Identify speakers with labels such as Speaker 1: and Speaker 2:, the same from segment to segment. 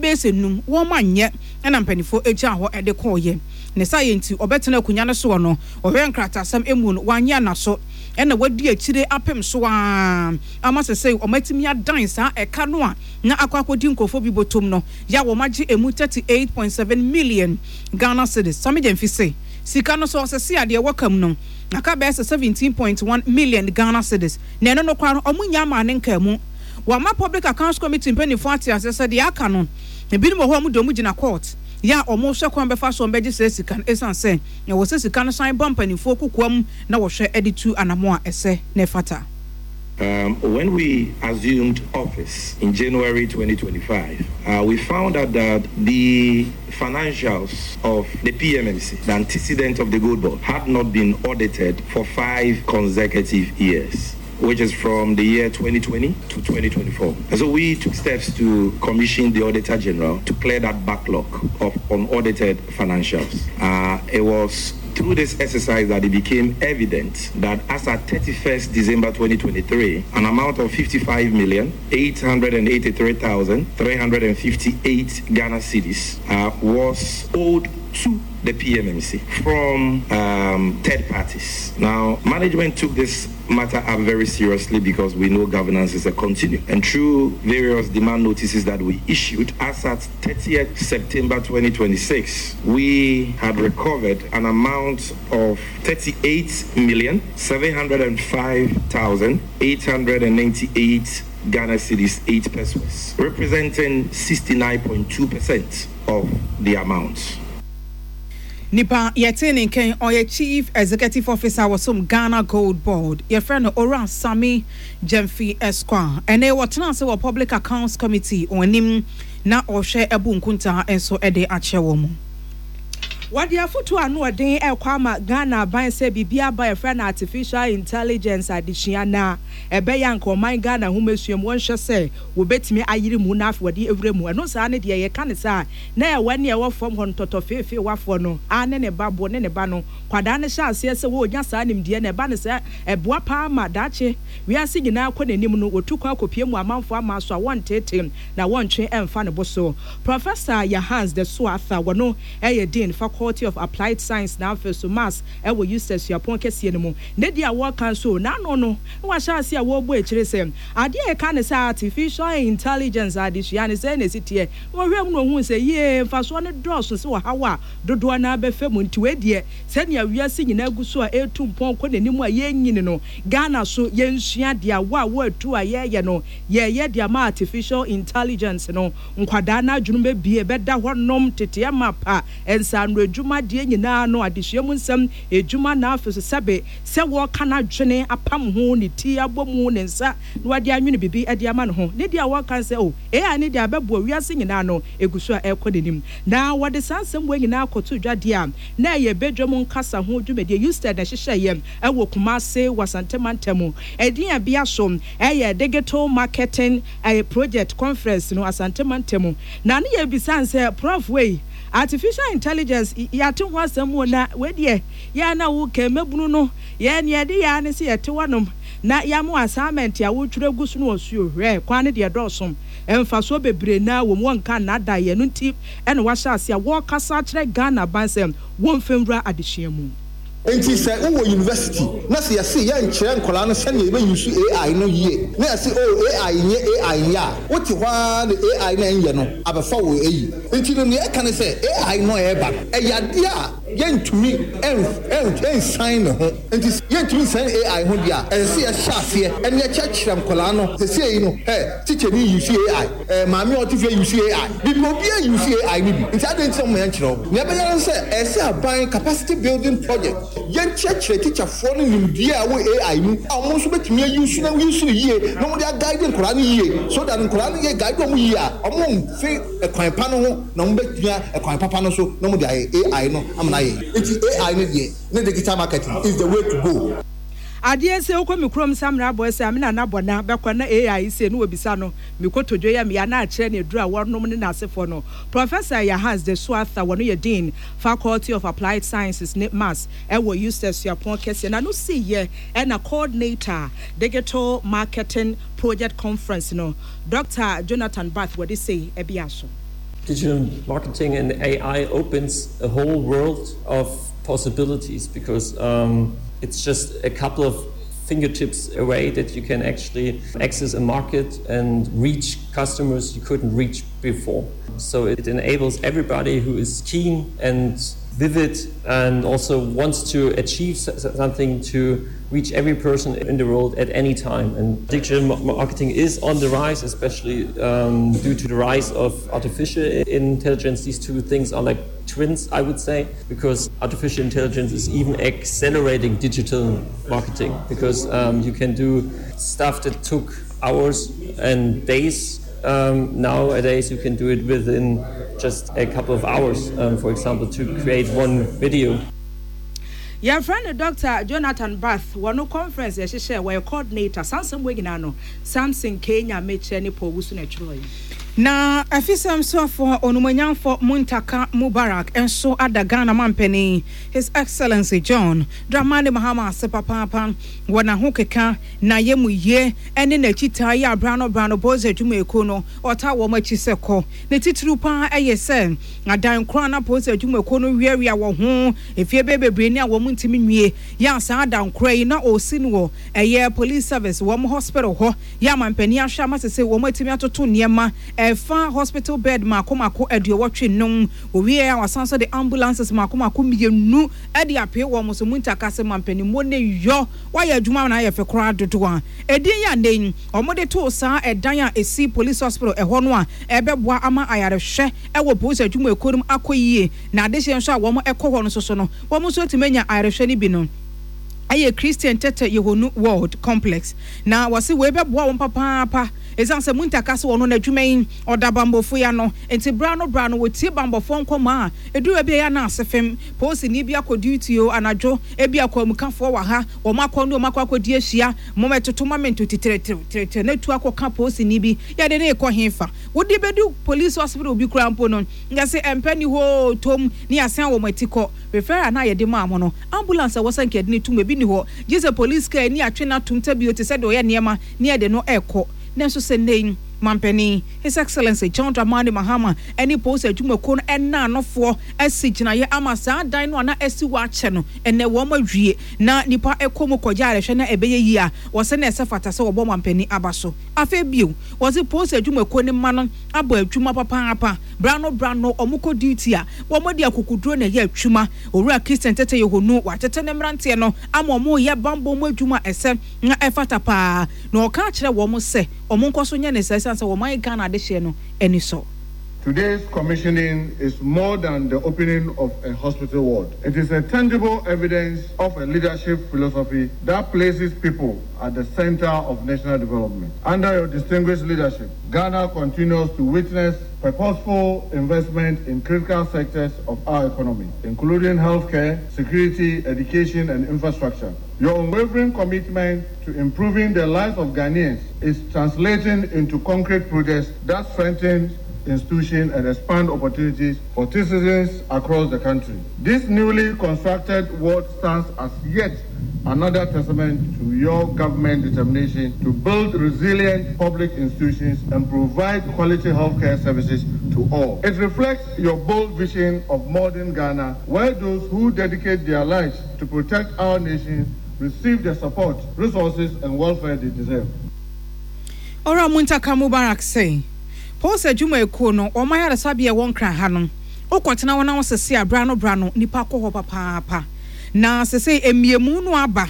Speaker 1: bɛyɛ sɛ num wɔn anyɛ ɛna mpaninfoɔ gyaa hɔ de kɔeɛ. Ne saayɛ nti ɔbɛtena akonwa no soɔ no ɔhwɛɛ nkrataasɛm mu no wanyɛ anaso ɛna wadi akyire apem so ara ama sesei wɔatumi adan saa ɛka no a na akɔ akɔdi nkurɔfoɔ bi bɔtɔm no yɛ a wɔagye ɛmu 38.7 million Ghana cedis. Sammy Gyamfi se sika no sɛ ɔsese a deɛ ɛwɔ ka mu no aka bɛyɛ sɛ 17.1 million Ghana cedis na ɛno no koraa no wɔnnya mmaa ne nkaa mu. Wɔama Public Accounts Committee mpanimfoɔ ate aseɛ sɛ deɛ aka no ebinom wɔ hɔ a wɔde wɔn gyina court yɛ a wɔrehwɛ kwan bɛfa so wɔbɛgye saa sika no ɛsiane sɛ ɛwɔ sɛ sika no san ba mpanimfoɔ kokoam na wɔhwɛ de tu anamɔ a ɛsɛ na ɛfata.
Speaker 2: Um, when we assumed office in January 2025, uh, we found out that the financials of the PMMC, the antecedent of the Gold Board, had not been audited for five consecutive years which is from the year 2020 to 2024. And so we took steps to commission the Auditor General to clear that backlog of unaudited financials. Uh, it was through this exercise that it became evident that as at 31st December 2023, an amount of 55,883,358 Ghana cedis uh, was owed to the PMMC from um, third parties. Now, management took this matter up very seriously because we know governance is a continuum. And through various demand notices that we issued, as at 30th September 2026, we had recovered an amount of 38,705,898 Ghana cedis 8 pesewas, representing 69.2% of the amount.
Speaker 1: Nipa yɛtee ne nkɛn ɔyɛ Chief Executive Officer wɔ som Ghana Gold Board yɛfrɛ no Owura Sammy Gyamfi Esquire. Ɛnɛ wɔtena ase wɔ Public Accounts Committee wɔn anim na ɔhwɛ abu nkuntaa nso de akyerɛ wɔn.
Speaker 3: Wɔde afotu ano ɔden rekɔ ama Ghana aban sɛ biribi aba a yɛfrɛ no Artificial Intelligence adesua na ɛbɛyɛ a anka ɔman Ghana nhomasua mu wɔnhwɛ sɛ wɔbɛtumi ayere mu na afei wɔde awura mu. Ɛno saa no deɛ yɛka no saa a na ɛwɔ ne ɛwɔ fam hɔ no tɔtɔfeefeewafoɔ no ara ne ne ba bo ne ne ba no kwadaa no hyɛ aseɛ sɛ wɔrenya saa nimdeɛ no ɛba no sɛ ɛboa paa ma daakye wiase nyinaa kɔ n'anim no wɔtu kwan kɔpue mu amanfoɔ aman so a wɔnteete na wɔntwe mfa ne bo so. Professor Yahans Desoa Arthur wɔno yɛ Dean, Faculty of Applied Science na afei so Maths wɔ USTER Suapɔn kɛseɛ no mu. Ne deɛ a wɔreka nso n'ano no na wahyɛ aseɛ a wɔrebɔ akyire sɛ adeɛ a yɛka no sɛ Artificial Intelligence adesua no sɛn na ɛsi teɛ na wɔhwɛɛ mu na wɔhuu sɛ yie mfasoɔ no dɔɔso sɛ ɔhaw a dodoɔ no ara bɛfa mu nti wei deɛ sɛnea wiase nyinaa gu so a ɛretu mpɔn kɔ n'anim a yɛrenyini no Ghana so yɛnsua deɛ awɔ a wɔatu a yɛreyɛ no yɛreyɛ de ama Artificial Intelligence no Nkwadaa no adwenem bɛbue, bɛda hɔ nom, teteɛ mapa, nsaano adwuma deɛ nyinaa no, adesua mu nsɛm, adwuma na afei nso sɛbe sɛ wɔreka n'adwene apam ho, ne ti abɔ mu, ne nsa na wade anwene biribi de ama ne ho. Ne deɛ a wɔreka ne sɛ, oh, AI no deɛ abɛboa wiase nyinaa no, ɛgu so a ɛrekɔ n'anim. Na wɔde saa nsɛm wei nyinaa kɔtoo dwa deɛ a na ɛyɛ badwam nkasa ho dwumadie, USTED na ɛhyehyɛeɛ wɔ Kumase wɔ Asante mantam. Ɛdin a ɛbea so yɛ Digital Marketing Ɛyɛ project conference no Asante mantam na ne yɛ bisa no sɛ prof wei artificial intelligence yɛate ho asɛm o na wei deɛ yɛ a na wo kɛ mmabunu no yɛ neɛ yɛde yɛ ara ne sɛ yɛte hɔ nom na yɛama wo assignment a wotwerɛ gu so no ɔse o hwɛ kwan no deɛ ɛdɔɔso mfasoɔ bebree naa wɔ mu wɔnka nnaadaa yɛ ɛno nti ɛna wahyɛ aseɛ a wɔrekasa akyerɛ Ghana aban sɛ wɔmfa nwura adesua mu.
Speaker 4: Enti sɛ wowɔ university na sɛ yɛse yɛnkyerɛ nkwadaa no sɛnea yɛbɛ use AI no yie na yɛse oh AI nyɛ AI nyɛ a, wote hɔ ara na AI no a ɛnyɛ no abɛfa wo ayi. Nti no nea ɛka ne sɛ AI no a ɛreba no ɛyɛ adeɛ a yɛntumi nsan ne ho. Nti sɛ yɛntumi nsan AI ho deɛ a, ɛsɛ sɛ yɛhyɛ aseɛ na yɛkyerɛkyerɛ nkwadaa no. Seesei no hɛ, tikyani use AI. Eh maame a ɔte fie use AI bibi obiara use AI no bi nti adɛn nti na moma yɛnkyerɛ wo nea ɛbɛyɛ ne sɛ ɛsɛ aban capacity building project yɛnkyerɛkyerɛ teacher foɔ no nimdeɛ a ɛwɔ AI mu a wɔn nso bɛtumi a use na use no yie na wɔde a guide nkwadaa no yie so that nkwadaa no yɛ guide wɔn yie a wɔn mfe ɛkwan pa no ho na wɔn bɛtua ɛkwan papa no so na wɔde ayɛ AI no ama no ayɛ yie nti AI no deɛ ne digital marketing is the way to go.
Speaker 3: Adeɛ se wokɔ me kurom Samina abɔɛ sɛ me nana bɔ na bɛkɔ na AI se ne wɔbisa no me kotodwe yɛ me ya na akyerɛ ne aduru a wɔnom ne n'asefoɔ no Professor Yahans de Soatha wɔno yɛ Dean Faculty of Applied Sciences ne Maths ɛwɔ USTED Suapɔn kɛseɛ n'ano siiɛ ɛna Coordinator Digital Marketing Project Conference no Doctor Jonathan Bath wɔde sei ɛbea so.
Speaker 5: Digital marketing and AI opens a whole world of possibilities because um, it's just a couple of fingertips away that you can actually access a market and reach customers you couldn't reach before. So it enables everybody who is keen and vivid and also wants to achieve something to reach every person in the world at any time. And digital marketing is on the rise, especially um, due to the rise of artificial intelligence. These two things are like twins, I would say, because artificial intelligence is even accelerating digital marketing because um, you can do stuff that took hours and days. Um, nowadays, you can do it within just a couple of hours, um, for example, to create one video.
Speaker 3: Yɛfrɛ no Dɔkta Jonathan Barth, wɔ no conference yɛhyehyɛɛ, wɔyɛ coordinator, saa nsɛm wei nyinaa no Samson K. Nyamekyɛ ne Paul Owusu na ɛtwerɛeɛ.
Speaker 1: Na Afisɛm soafoɔ Onumonyamfoɔ Muntaka Mubarak nso ada Ghana mampanin His Excellency John Dramani Mahama ase papaapa wɔ n'ahokeka, n'ayamuyie ne n'akyitaa yi a berɛ ano berɛ ano Boys adwumayɛkuo no ɔtaa wɔn akyi sɛ kɔ. Ne titiriw pa ara yɛ sɛ adan korɔ a na Boys adwumakuo no weawea wɔ ho mfeɛ bɛyɛ bebree ni a wɔn ntumi nwie yɛ a saa adan korɔ yi na ɔresi no wɔ ɛyɛ Police Service wɔn hospital hɔ yɛ a mampanin ahwɛ ama sesei wɔn atumi atoto nneɛma ɛfa hospital bed mako mako aduowɔtwe num wɔwieɛ a wɔasan nso de ambulances mako mako mmienu de apee wɔn so Muntaka se mampanin mo ne yɔ wayɛ adwuma ama no ayɛ fɛ koraa dodo a edin yi a nnɛ yi wɔde too saa ɛdan a esi Police Hospital ɛhɔ no a ɛbɛboa ama ayarehwɛ wɔ polisi adwumayɛkuo no mu akɔ yie na adehyeɛ nso a wɔn kɔ hɔ no nso so no wɔn nso atumi anya ayarehwɛ no bi no yɛ Christian Tete Yehonu World Complex na wɔse wei bɛboa wɔn papaapa ɛsiane sɛ Muntaka se ɔno n'adwuma yi ɔda bambɔfoɔ yi ano nti berɛ ano berɛ ano wɔtie bambɔfoɔ nkɔmmɔ a ɛduru baabi a ɛyɛ a na ase fem polisini bi akɔ duty o anadwo ebia kwamukafoɔ wɔ ha wɔn akɔ ne wɔn akɔ akɔdi ahyia momɛtoto ma me nto titiriw titiriw na tu akɔka polisini bi yɛde no rekɔ hefa Wode bɛdu police hospital bi koraa mpo no, yɛse ɛmpɛ nni hɔ oo, tom ne yɛasan wɔn ati kɔ. Referral no a yɛde maa mo no, ambulance a ɛwɔ sɛ nka yɛde no tom, ebi nni hɔ. Gye sɛ police car ani atwe no atom tabio te sɛ deɛ ɔyɛ nneɛma ne yɛde no rekɔ. Nanso sɛ nnɛ yi, Mampanin, His Excellency John Dramani Mahama ne polisi adwumakuo no nnaanofoɔ asi gyinaeɛ ama saa dan no a na asi hɔ akyɛ no, ɛnnɛ wɔn awie na nnipa kɔ mu kɔgye ayarehwɛ na ɛbɛyɛ yie a, wɔsɛ na ɛsɛ fata sɛ wɔbɔ mampanin aba so. Afei bio, wɔdze polisi edwumakuo no mma no abɔ edwuma papaapa. Berano berano wɔkɔ duty a, wɔde akokoduro na ɛyɛ adwuma. Owura Christian Tetteh Yohuno, watete ne mmeranteɛ no ama wɔreyɛ bammɔ mu adwuma a ɛsɛ na ɛfata pa ara, na ɔka akyerɛ wɔn sɛ wɔnkɔ so nyɛ no saa ɛsiane sɛ wɔn Ghana adehyeɛ no ani sɔ.
Speaker 6: Today's commissioning is more than the opening of a hospital ward. It is a tangible evidence of a leadership philosophy that places people at the center of national development. Under your distinguished leadership, Ghana continues to witness purposeful investment in critical sectors of our economy, including healthcare, security, education, and infrastructure. Your unwavering commitment to improving the lives of Ghanaians is translating into concrete projects that strengthen institutions and expand opportunities for citizens across the country. This newly constructed ward stands as yet another testament to your government determination to build resilient public institutions and provide quality healthcare services to all. It reflects your bold vision of modern Ghana, where those who dedicate their lives to protect our nation receive the support, resources, and welfare they deserve.
Speaker 1: Owura Muntaka Mubarak se, Polisi adwumayɛkuo no, wɔn ayaresabea a ɛwɔ Nkran ha no, wokɔtena hɔ na wosese a, berɛ ano berɛ ano, nnipa kɔ hɔ papaapa. Na sesei mmeamu no aba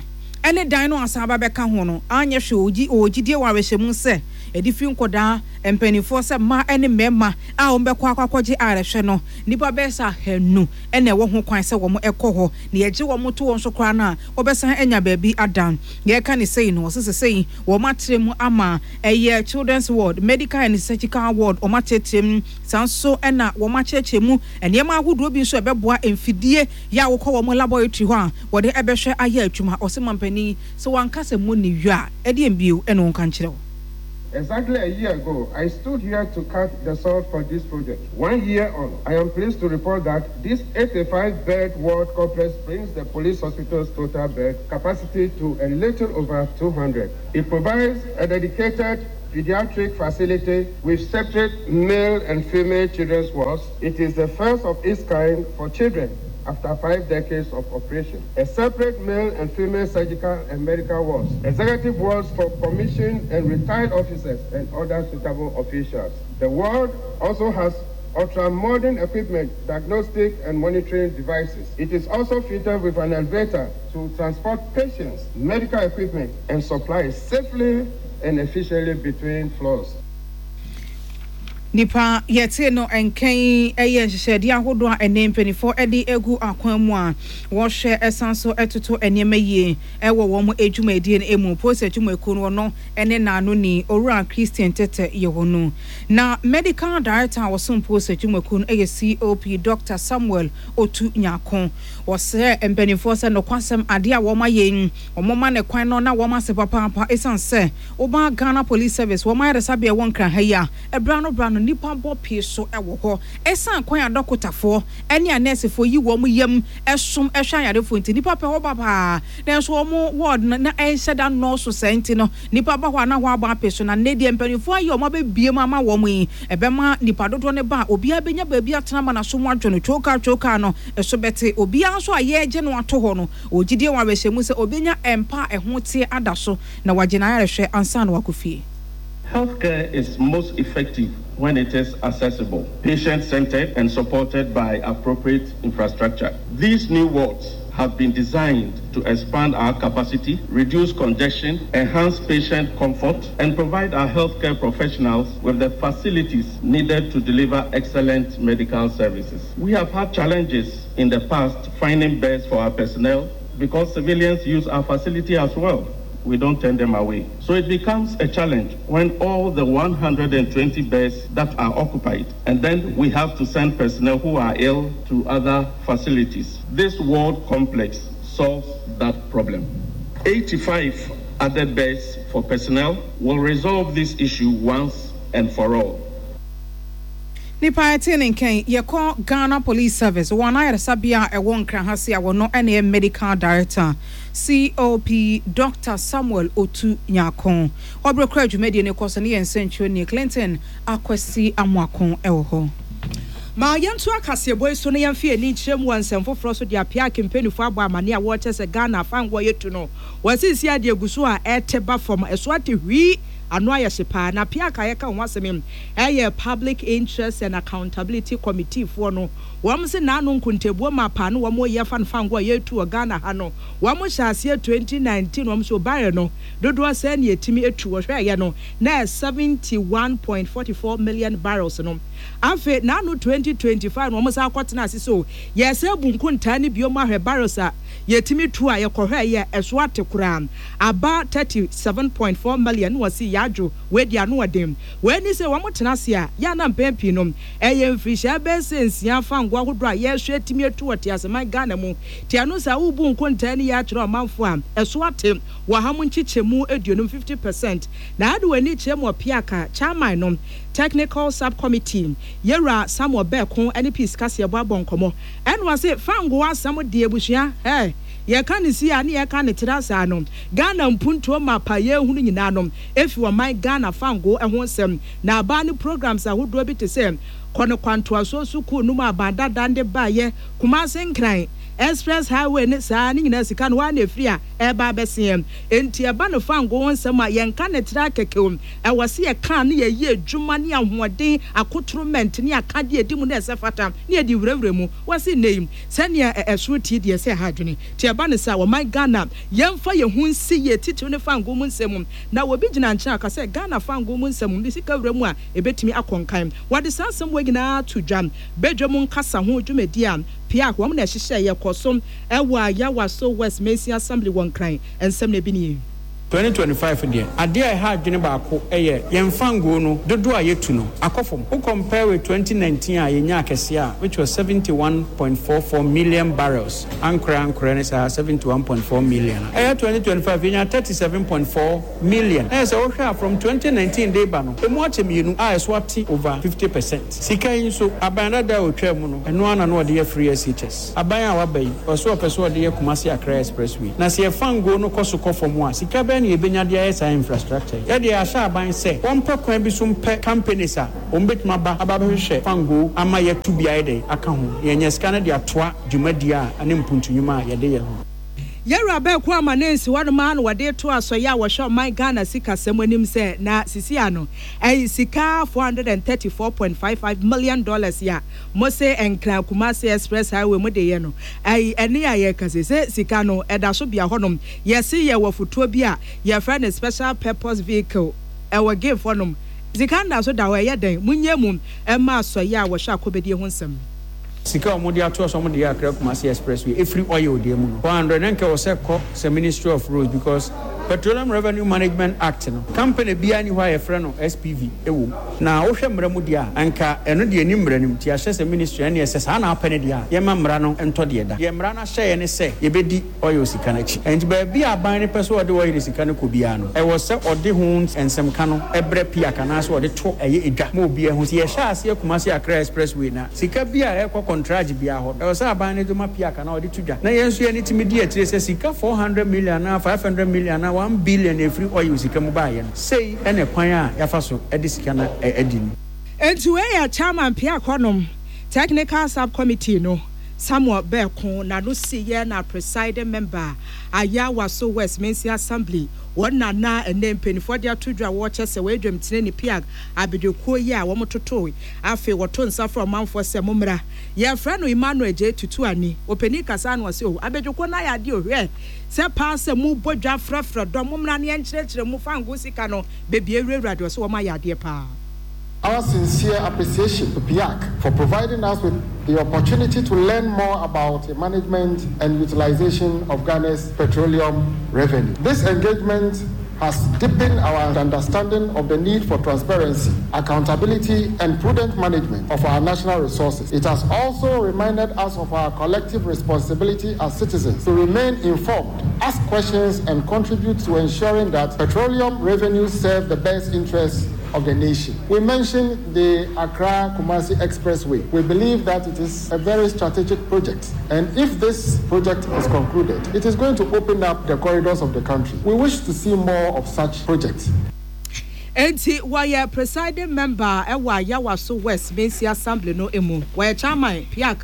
Speaker 1: ne dan no a asan aba bɛka ho no, anyɛ hwee, wɔwɔ gyidie wɔ awerɛhyɛmu sɛ, ɛde firi nkɔdaa, mpanimfoɔ sɛ mmaa ne mmarima a wɔbɛkɔ akɔ akɔgye ayarehwɛ no, nnipa bɛyɛ sɛ ahanu na ɛwɔ ho kwan sɛ wɔkɔ hɔ. Na yɛgye wɔn to hɔ nso koraa no a, wɔbɛsan anya baabi ada. Yɛreka no sei no, wɔse sesei wɔatrɛ mu ama ɛyɛ Children's Ward, Medical and Surgical Ward, wɔatrɛtrɛ mu. Saa nso na wɔakyerɛkyerɛ mu nneɛma ahodoɔ bi nso a ɛbɛboa mfidie yɛ a wokɔ wɔn laboratory hɔ a wɔde bɛhwɛ ayɛ adwuma. Ɔse mampanin, sɛ wanka sɛ monni yɔ a, ɛdeɛn bio na ɔnka nkyerɛ wo?
Speaker 6: Exactly a year ago, I stood here to cut the sod for this project. One year on, I am pleased to report that this 85-bed ward complex brings the police hospital's total bed capacity to a little over 200. It provides a dedicated pediatric facility with separate male and female children's wards. It is the first of its kind for children after five decades of operation. A separate male and female surgical and medical wards, executive wards for commissioned and retired officers and other suitable officials. The ward also has ultra-modern equipment, diagnostic and monitoring devices. It is also fitted with an elevator to transport patients, medical equipment, and supplies safely and efficiently between floors.
Speaker 1: Nnipa yɛtee no nka yi yɛ nhyehyɛedeɛ ahodoɔ a ɛnnɛ mpaninfoɔ de agu akwan mu a wɔhwɛ san so toto nneɛma yie wɔ wɔn dwumadie no mu. Polisi adwumakuo no ɔno ne n'anoni Owura Christian Tetteh Yehonu. Na Medical Director a ɔsom Polisi adwumakuo no yɛ COP Dɔkta Samuel Otu Nyarko. Ɔsrɛɛ mpaninfoɔ sɛ nokwasɛm adeɛ a wɔn ayɛ yi wɔn ma no kwan no na wɔn ase papaapa ɛsiane sɛ woba Ghana Police Service wɔn ayaresabea ɛwɔ Nkran ha yi a ɛberɛ ano berɛ ano nnipa bɔ pee so wɔ hɔ ɛsiane kwan a dɔkotafoɔ ne anɛɛsefoɔ yi wɔn yam som hwɛ ayarefoɔ nti nnipa pɛ hɔ ba paa nanso wɔn ward no na ɛnhyɛ da nnɔɔso saa nti no nnipa ba hɔ a na hɔ abɔ ape so na nnɛ deɛ mpaninfoɔ ayɛ wɔn abɛbue mu ama wɔn yi ɛbɛma nnipa dodoɔ no ba a obiara bɛnya baabi atena ama n'aso mu adwo no twookaa twookaa no so bɛte obiara nso a yɛregye no ato hɔ no ɔwɔ gyidie wɔ awerɛhyɛmu sɛ ɔbɛnya mpa a ɛho teɛ ada so na wagye n'ayarehwɛ ansa na wakɔ fie.
Speaker 6: Healthcare is most effective when it is accessible, patient-centered, and supported by appropriate infrastructure. These new wards have been designed to expand our capacity, reduce congestion, enhance patient comfort, and provide our healthcare professionals with the facilities needed to deliver excellent medical services. We have had challenges in the past finding beds for our personnel because civilians use our facility as well. We don't turn them away. So it becomes a challenge when all the 120 beds that are occupied, and then we have to send personnel who are ill to other facilities. This ward complex solves that problem. 85 added beds for personnel will resolve this issue once and for all.
Speaker 1: Nipa a ɛtee ne nka yi, yɛkɔ Ghana Police Service, wɔn ayaresabea a ɛwɔ Nkran ha se a wɔno na ɛyɛ Medical Director, COP Doctor Samuel Otu Nyarko. Wɔ bere koro a dwumadie no rekɔ so no yɛn nsɛntwerɛni Clinton Akwasi Amoako wɔ hɔ.
Speaker 3: Ma yɛntoa kaseɛbɔ yi so na yɛmfa yɛn ani nkyerɛ mu wɔ nsɛm foforɔ so de apea Kempenifoɔ abɔ amaneɛ a wɔrekyɛ sɛ Ghana afangoɔ yɛtu no wɔ seesei a deɛ ɛgu so a ɛrete ba fam ɛso ate hwii ano ayɛ hye paa na Piak a yɛka ho asɛm yi ɛyɛ Public Interest and Accountability Committee foɔ no wɔn se naano nkontabuo mapa no wɔn reyɛ fa no fango a yɛretu wɔ Ghana ha no wɔn hyɛ aseɛ 2019 wɔn so barrel no dodoɔ sɛn na yɛtumi tu wɔhwɛɛyɛ no na ɛyɛ 71.44 million barrels no afei naano 2025 no wɔn san kɔtena ase so yɛsɛ bu nkontaa no bio mu ahwɛ barrels a yɛtumi tu a yɛkɔhwɛɛyɛ ɛso ate koraa aba 37.4 million na wɔse yɛadwo wei deɛ ano ɔden. Wei ne sɛ wɔn tena ase a, yɛ a na mpɛn pii no ɛyɛ mfirihyia bɛyɛ sɛ nsia fango ahodoɔ a yɛrehwɛ atumi atu wɔ teaseman Ghana mu. Nti ɛno saa wobu nkontaa ni yɛ akyerɛ ɔmanfoɔ a, ɛso ate wɔ ha mu nkyekyɛmu aduonum, 50%. Na ade w'ani kyerɛ mu ɔpeaka, chairman no, Technical Sub-Committee, Yɛwura Samuel Berko ne Peace Kaseɛbɔ abɔ nkɔmmɔ. Ɛna ɔse fango asɛm deɛ abusua, hɛɛ, yɛka no sei a ne yɛka no tra saa no, Ghana mpuntuo mapa yɛrehunu nyinaa no, efi ɔman Ghana fangoo ho nsɛm na abaa ne programs ahodoɔ bi te sɛ Kɔ no Kwantoasoɔ Sukuu no mu aban dada de baeɛ, Kumase Nkran Express Highway ne saa ne nyinaa sika no hɔ ara na ɛfiri a ɛreba abɛseɛ. Enti ɛba no fangoo ho nsɛm a yɛnka no tra kɛkɛ o, ɛwɔ sɛ yɛka na yɛyɛ adwuma ne ahoɔden, akotoromɛnt ne akadeɛ a ɛdi mu na ɛsɛ fata na yɛde wurawura mu. Wɔse nnɛ yi sɛnea ɛsoro te deɛ ɛsɛ ɛha adwene. Nti ɛba no saa ɔman Ghana yɛmfa yɛn ho nsi yie titiriw ne fangoo mu nsɛm mu. Na obi gyina nkyɛn a ɔka sɛ Ghana fangoo mu nsɛm de sika wura mu a ebetumi akɔ nkan. Wɔde saa nsɛm wei nyinaa to dwa. Badwam nkasa ho dwumadi a PIAC wɔn na ɛhyehyɛeɛ kɔ so wɔ Ayawaso West Mansin Assembly wɔ Nkran. Nsɛm no ebi nie.
Speaker 7: 2025 deɛ, adeɛ a ɛha adwene baako yɛ yɛn fangoo no dodoɔ a yɛtu no akɔ fam. Wo compare with 2019 a yɛnyaa kɛseɛ a which was 71.44 million barrels, ankorɛ ankorɛ ne saa 71.4 million a ɛyɛ 2025 yɛnyaa 37.4 million. Na yɛ sɛ wohwɛ a from 2019 de reba no, ɛmu akyɛ mmienu a ɛso ate over 50 percent. Sika yi nso, aban dada a ɔtwaa mu no, ɛno ara na na wɔde yɛ free SHS. Aban a waba yi, ɔse ɔpɛ sɛ ɔde yɛ Kumasi Accra Expressway. Na sɛ yɛfa ngo no kɔ so kɔ fam a, sika bɛn. bɛn na yɛbɛnya de ayɛ saa infrastructure yi? Yɛdeɛ yɛahyɛ aban sɛ wɔmpɛ kwan bi so mpɛ companies a wɔbɛtumi aba aba abɛhwehwɛ fangoo ama yɛatu bi ayɛ dɛn aka ho na yɛanya sika no de atoa dwumadie a ne mpuntu nnwuma a yɛde yɛ ho.
Speaker 3: Yɛwura Berko Amanansi hɔnom ara na wɔde reto asɔeɛ a wɔhwɛ ɔman Ghana sikasɛm anim sɛ na sisi ano ɛyi sika $434.55 million dollars yi a mose Nkran Kumasi Express Highway mode yɛ no ɛyi ɛne a yɛka sei sɛ sika no ɛda so bea hɔnom yɛse yɛwɔ fotoɔ bi a yɛfrɛ no special purpose vehicle ɛwɔ Gave hɔnom sika no da so da hɔ ɛyɛ dɛn monyɛ mu ɛma asɔeɛ a wɔhwɛ akɔbɛdie ho nsɛm.
Speaker 7: Sika a wɔde ato so a wɔde yɛ Accra Kumasi Expressway ɛfiri oil deɛ mu no 400 na nka ɛwɔ sɛ ɛkɔ sɛ Ministry of Roads because Petroleum Revenue Management Act no company biara nni hɔ a yɛfrɛ no SPV wɔ mu na wohwɛ mmara mu deɛ a nka ɛno deɛ ɛnni mmara no mu nti yɛahyɛ sɛ Ministry ɛnneɛ sɛ saa na wopɛ no deɛ a yɛmma mmara no ntɔ deɛ ɛda deɛ mmara no ahyɛ yɛn ne sɛ yɛbɛdi oil sika no akyi nti baabi a aban no pɛ sɛ ɔde oil sika no kɔ biara no ɛwɔ sɛ ɔde ho nsɛmka no brɛ PIAC anaasɛ ɔde to ɛyɛ edwa ma obiara hu nti yɛhyɛ aseɛ Kumasi Accra Expressway no a Sika bi a ɛrekɔ kɔntragye biara hɔ no, ɛwɔ sɛ aban no de ma PIAC anaa ɔde to dwa, na yɛn nso yɛn ani tumi di akyire sɛ sika 400 million anaa 500 million anaa 1 billion a ɛfiri oil sika mu baeɛ no, sei ne kwan a yɛafa so de sika no adi no.
Speaker 3: Enti wei yɛ Chairman PIAC hɔnom Technical Sub-Committee no, Samuel Berko, n'ano siiɛ na Presiding Member, Ayawaso West Mansin Assembly, wɔn na na ɛnnɛ mpaninfoɔ de ato dwa a wɔrekyɛ sɛ wɔyɛ dwamtenani PIAC abedwokuo yi a wɔtotoe. Afei wɔto nsa frɛ ɔmanfoɔ sɛ, Mommra. Yɛfrɛ no Emmanuel Gyei Tutuani. Ɔpanin kasa na ɔse, Oh, abadwokuo no ayɛ adeɛ o, hwɛ sɛ paa sɛ mobɔ dwa frɛfrɛ dɔm, mommra na yɛnkyerɛkyerɛ mu fangoo sika no baabi awurawura deɛ ɔse wɔn ayɛ adeɛ paa.
Speaker 6: Our sincere appreciation to PIAC for providing us with the opportunity to learn more about the management and utilization of Ghana's petroleum revenue. This engagement has deepened our understanding of the need for transparency, accountability, and prudent management of our national resources. It has also reminded us of our collective responsibility as citizens to remain informed, ask questions, and contribute to ensuring that petroleum revenues serve the best interests of the nation. We mentioned the Accra Kumasi Expressway. We believe that it is a very strategic project. And if this project is concluded, it is going to open up the corridors of the country. We wish to see more of such projects.
Speaker 3: Enti wɔyɛ presiding member wɔ Ayawaso West Mansi Assembly no mu. Wɔyɛ chairman, PIAC,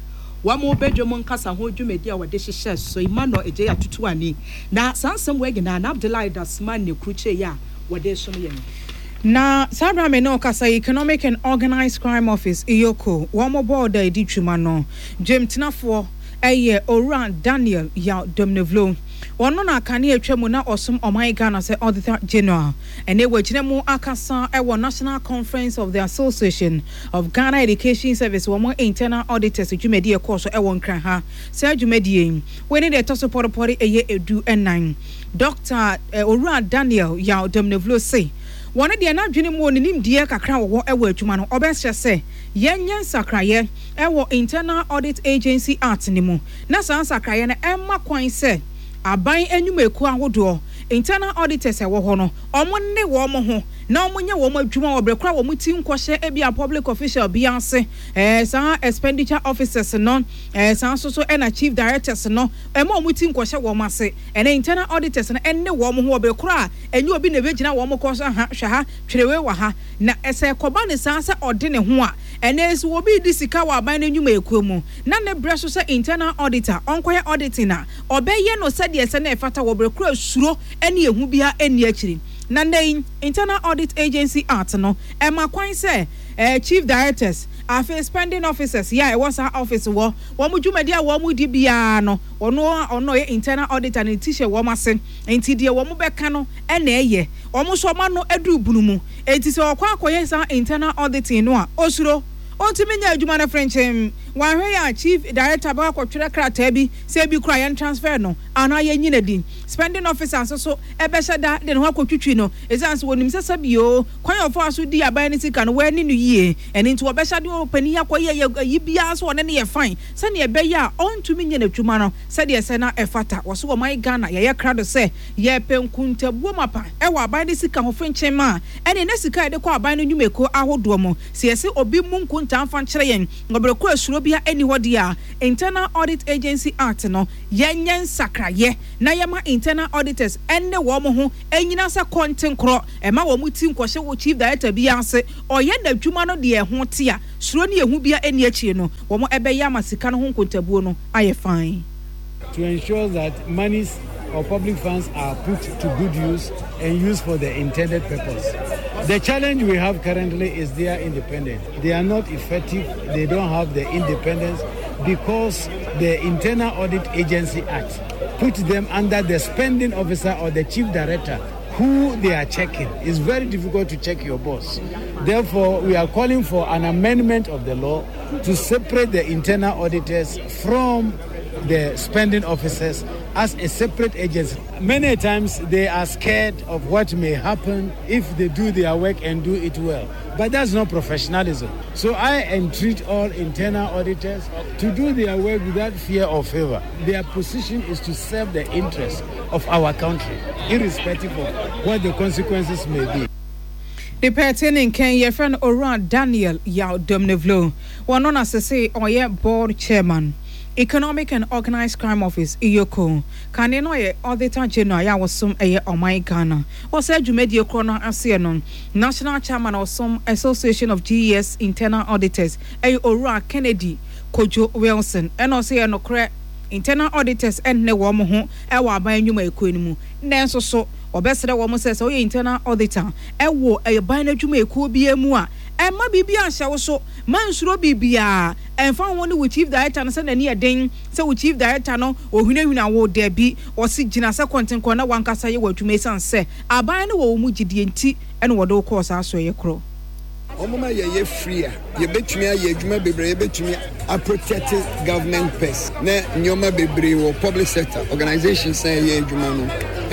Speaker 3: wɔn badwam nkasa ho dwumadi a wɔde hyehyɛ so, Emmanuel Adjei Atutuani. Na saa nsɛm wei nyinaa na Abdullahi Dasmani krukyee a wɔde resom yɛn.
Speaker 1: Na saa berɛ a me ne wo kasa yi, Economic and Organised Crime Office, EOCO, wɔn bɔɔd a ɛdi dwuma no dwamtenafoɔ yɛ Owura Daniel Yaw Domnevlo. Ɔno na kane atwa mu na ɔsom ɔman Ghana sɛ Auditor General. Ɛnnɛ wagyina mu akasa wɔ National Conference of the Association of Ghana Education Service wɔn Internal Auditors dwumadie a ɛkɔɔ so wɔ Nkran ha. Saa dwumadie yi, wei ne deɛ ɛtɔ so pɔrepɔre ɛyɛ du nnan. Dɔkta Owura Daniel Yaw Domnevlo se wɔn deɛ n'adwene mu wɔ ne nimdeɛ kakra a wɔwɔ wɔ adwuma no, ɔbɛsrɛ sɛ yɛnyɛ nsakraeɛ wɔ Internal Audit Agency Act no mu na saa nsakraeɛ no mma kwan sɛ aban nnwumakuo ahodoɔ, internal auditors a ɛwɔ hɔ no, wɔn ne wɔn ho na wɔnyɛ wɔn adwuma wɔ berɛ korɔ a wɔn ti nkɔhyɛ ebia public official bi ase, saa expenditure officers no, saa nso so na chief directors no, mma wɔn ti nkɔhyɛ wɔn ase. Ɛnɛ internal auditors no ne wɔn ho wɔ berɛ korɔ a ɛnyɛ obi na ɛbɛgyina wɔn kɔn so, aha, hwɛ ha, twerɛ wei wɔ ha. Na sɛ ɛkɔba no saa sɛ ɔde ne ho a, ɛnɛ sɛ obi redi sika wɔ aban no nnwumayɛkuo mu na ne berɛ so sɛ internal auditor ɔnkɔyɛ auditing a, ɔbɛyɛ no sɛdeɛ ɛsɛ na ɛfata wɔ berɛ korɔ a suro ne ehu biara nni akyiri. Na nnɛ yi, Internal Audit Agency Act no, ɛma kwan sɛ Chief Directors, afei Spending Officers yɛ a ɛwɔ saa office wɔ, wɔn dwumadi a wɔredi biara no, ɔno a ɔno ɔyɛ internal auditor no ne ti hyɛ wɔn ase, enti deɛ wɔn bɛka no na ɛyɛ. Wɔn nso wɔn ano aduru bunu mu, enti sɛ ɔkɔ akɔyɛ saa internal auditing no a, ɔsuro. Ɔntumi nyɛ adwuma no frenkyemm. Wanhwɛ yɛ a, chief director bɛkɔ akɔtwerɛ krataa bi sɛ ebi koraa yɛn transfer no anaa yɛnyi no adi. Spending officer nso so bɛhyɛ da de ne ho akɔtwitwi no, ɛsiane sɛ wɔnim sɛ sɛbi oo, kwan a ɔfaa so dii aban no sika no, wanni no yie. Ɛno nti wɔbɛhyɛ de ɔpanin yi akɔyɛ ayi biara sɛ ɔne no yɛ fine. Sɛnea ɛbɛyɛ a ɔntumi nyɛ n'adwuma no sɛdeɛ ɛsɛ na ɛfata. Wɔse ɔman Ghana yɛayɛ krado sɛ yɛrepɛ nkuntabuo mapa wɔ aban no sika ho fenkyem a ɛne na sika a yɛde kɔ aban no nnwumakuo ahodoɔ mu. Sɛ yɛse obi mmu nkontabuo. nkontaa mfa nkyerɛ yɛn wɔ bere ko a suro biara nni hɔ deɛ a, Internal Audit Agency Act no, yɛnyɛ nsakraeɛ na yɛma internal auditors ne wɔn ho nnyina sɛ kɔntenkorɔ, mma wɔn ti nkɔhyɛ wɔ Chief Director biara ase, ɔyɛ n'adwuma no deɛ ɛho te a, suro ne ehu biara nni akyire no, wɔn bɛyɛ ama sika no ho nkontabuo no ayɛ fann.
Speaker 8: To ensure that monies or public funds are put to good use and used for the intended purpose. The challenge we have currently is their independence. They are not effective, they don't have the independence because the Internal Audit Agency Act put them under the spending officer or the chief director who they are checking. It's very difficult to check your boss. Therefore, we are calling for an amendment of the law to separate the internal auditors from the spending officers as a separate agency. Many times they are scared of what may happen if they do their work and do it well. But that's not professionalism. So I entreat all internal auditors to do their work without fear or favor. Their position is to serve the interests of our country, irrespective of what the consequences may be.
Speaker 1: Ne pɛɛtee ne nkɛn yɛfrɛ no Owura Daniel Yaw Domnevlo. Wɔno na sesei ɔyɛ Board Chairman, Economic and Organised Crime Office, EOCO. Kane no ɔyɛ Auditor General yɛ a ɔsom ɛyɛ ɔman Ghana. Wɔ saa dwumadie korɔ no aseɛ no, National Chairman a ɔsom Association of GES Internal Auditors ɛyɛ Owura Kennedy Kojo Wilson ɛna ɔse ɛyɛ nokorɛ Internal Auditors ɛnne wɔn ho ɛwɔ aban nnwumayɛkuo no mu nanso so wɔbɛsrɛ wɔn sɛ sɛ woyɛ Internal Auditor ɛwɔ aban no adwumayɛkuo biara mu a ɛmma biribiara nhyɛ wo so, mma nsuro biribiara, ɛmfa ho ne wo Chief Director no sɛ n'ani yɛ den sɛ wo Chief Director no ɔhunahuna wo, dabi, ɔse gyina sɛ kɔntenkɔn na w'ankasa yɛ w'adwuma ɛsiane sɛ aban no wɔ wo mu gyidie nti na wɔde wo kɔɔ saa asoɛeɛ korɔ.
Speaker 9: Wɔma yɛyɛ free a, yɛbɛtumi ayɛ adwuma bebree, yɛbɛtumi a protect government purse na nneɛma bebree wɔ public sector organisations a ɛyɛ adwuma no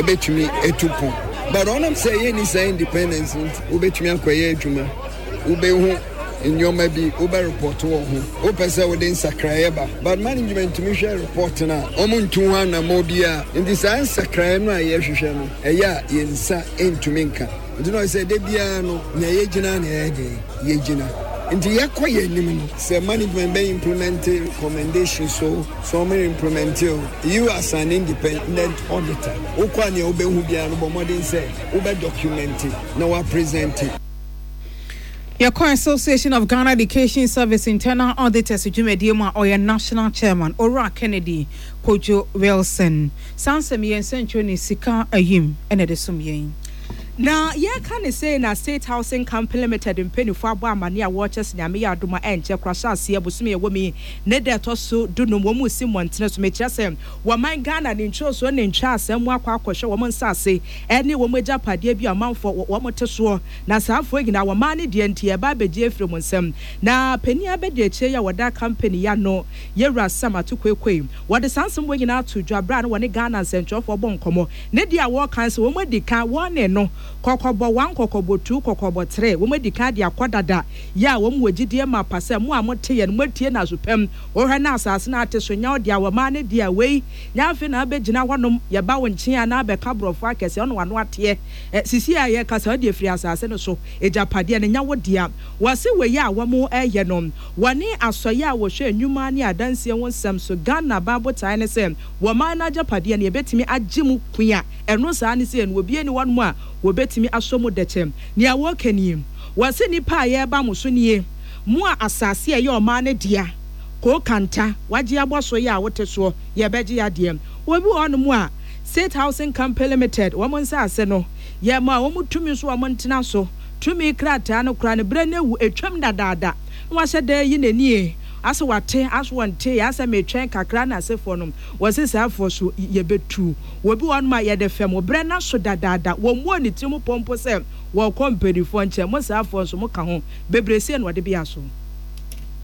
Speaker 9: ɛbɛtumi atu pɔn. But ɔnam sɛ yɛnni saa independence nti, wobɛtumi akɔyɛ adwuma, wobɛhu nneɛma bi, wobɛ report wɔ ho, wopɛ sɛ wode nsakraeɛ ba, but management tumi hwɛ report no a, wɔn ntu ho anammɔn biara. Nti saa nsakraeɛ no a yɛhwehwɛ no, ɛyɛ a yɛn nsa ntumi nka. Nti na ɔyɛ sɛ da biara no nea yɛgyina na yɛyɛ den yɛgyina. Nti yɛkɔ yɛn anim no sɛ management bɛ implement recommendation so sɛ wɔn implement o, you as an independent auditor wokɔ a nea wobɛhu biara no bɔ mmɔden sɛ wobɛ document na wa present.
Speaker 1: Yɛkɔ Association of Ghana Education Service Internal Auditors dwumadie mu a ɔyɛ National Chairman, Owura Kennedy Kojo Wilson. Saa nsɛm yi yɛn nsɛnkyerɛwni Sika Ayim na ɛde som yɛn.
Speaker 3: Na yɛreka no sei na State Housing Company Limited mpaninfoɔ abɔ amaneɛ a wɔrekyɛ sɛ Nyame yɛ adom a ɛnkyɛ koraa hyɛ aseɛ bosome a ɛwɔ mu yi ne da ɛtɔ so dunum wɔn resi mmɔntene so mekyerɛ sɛ wɔman Ghana ne ntwosoɔ ne ntwaasɛm mu akɔ akɔhwɛ wɔn nsaase ne wɔn agyapadeɛ bi a ɔmanfoɔ wɔn te soɔ na saa afoɔ nyinaa wɔman no deɛ nti yɛreba abɛgye afiri wɔn nsam na panin abɛdiakyire yi a wɔda company yi ano Yɛwura Sam Atukuekoi Wɔde saa nsɛm wei nyinaa too dwa berɛ a na wɔne Ghana nsɛntwerɛfoɔ bɔ nkɔmmɔ. Ne deɛ a wɔreka ne sɛ wɔn adi kan, wɔne no, kɔkɔbɔ one, kɔkɔbɔ two, kɔkɔbɔ three, wɔn adi kan de akɔ dada, yɛ a wɔn wɔ gyidie mapa sɛ mo a mote yɛn, moatie no aso pam, wohwɛ na asase no ate so nyɛ wo dea, wɔmaa no deɛ, wei nyɛ afei na abɛgyina hɔnom, yɛba wo nkyen a na abɛka borɔfo akɛseɛ, ɔne w'ano ateɛ, ɛ, sisi a yɛrekasa wode afiri asase no so, agyapadeɛ no nyɛ wo dea. Wɔse wei a wɔreyɛ no, Wɔne Asɔeɛ a wɔhwɛ nnwuma ne adansie ho nsɛm so Ghana aban botaeɛ ne sɛ wɔman no agyapadeɛ no yɛbɛtumi agye mu kua ɛno saa ne sei no obiara nni hɔnom a wɔbɛtumi asɔ mu dɛkyɛ. Nea wɔreka nie, Wɔse nnipa a yɛreba mo so nie, mo a asase a ɛyɛ ɔman no dea, Kookanta, wagye abɔ so yɛ a wote soɔ, yɛbɛgye adeɛ. Obi wɔ hɔnom a State Housing Company Limited wɔn nsase no, yɛmaa wɔn tumi nso wɔn ntena so, tumi krataa no koraa no berɛ no awu, atwam dadaada. Na wahyɛ da ayi n'ani e, asɛ wate, asɛ ɔntee, asɛ metwɛn kakra na asefoɔ no, wɔse saa foɔ so yɛbɛtu. Obi wɔ hɔnom a yɛde fɛm, berɛ no aso dadaada, wɔmmɔɔ ne tirim pɔ mpo sɛ wɔrekɔ mpaninfoɔ nkyɛn, mo saa foɔ nso moka ho, bebree sei na wɔde bea so.